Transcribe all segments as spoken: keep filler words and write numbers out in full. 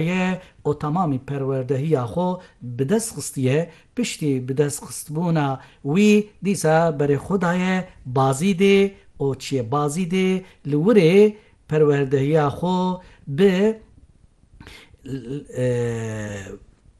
ye û temamî perwerdehiya xwe bi dest xistiye. Piştî bi dest xistbûna wî dîsa berê xwe daye Bazîdê û çiye Bazîdê li wirê perwerdehiya xwe bi, e,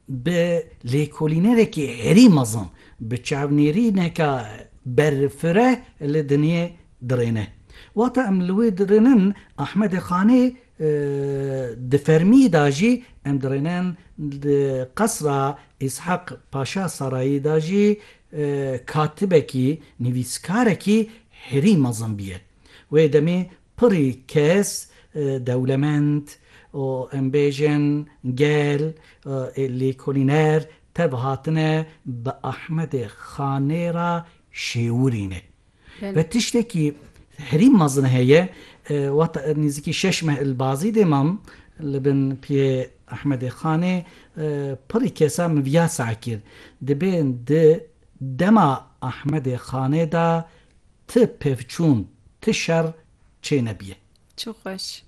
bi lêkolînerekî herî mezin, bi çavnêrîneka berfireh li dinê dirêne. Wata em li wê dirênin Ahmedê Xanê, e, di fermî de jî em dirênin di qesra Îshak Paşa Sarayî de jî, e, katibekî, nivîskarekî herî mezin biye. Wê demê pirî kes, e, dewlemend û em bêjin gel, e, lêkolîner tev hatine bi Ahmedê Xanê re şêwirîne. Belê. Ve tiştekî herî mezin heye, e, wata nêzîkî şeş meh li Bazîdê mam li bin piyê Ahmedê Xanê, e, pirî kesa min viya seh kir. Dibên di dema Ahmedê Xanê de ti pevçûn, ti şer çênebiye. Çi xweş.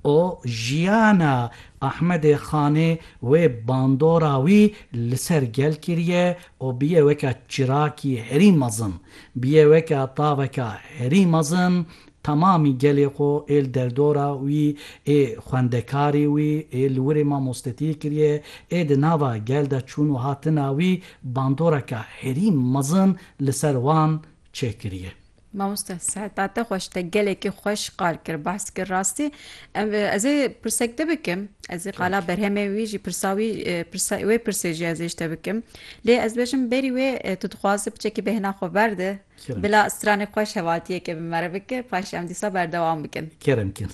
O jiyana Ahmedê Xanê wê bandora wî li ser gel kiriye û biye weke çirakî herî mezin, biye weke taveka herî mezin, temamî gelê xwe ê li derdora wî, ê xwendekarê wî, ê li wirê mamostetiyê kiriye, ê di nava gel de çûn û hatina wî bandoreke herî mezin li ser wan çêkiriye. Mamoste, seheta te xweş, te gelekî xweş qal kir, behs kir rastî. Em, e, ez ê pirsek te bikim. Ez ê qala berhemê wî jî, pirsa wî, e, pirsa, wê pirsê jî ez ê ji te bikim. Lê ez bêjim berî wê, e, tu dixwazî piçekî bêhna xwe berde. Kerem. Bila stranê xweş hevaltiyeke bi me re bike, paşê em dîsa berdewam bikin. Kerem kir.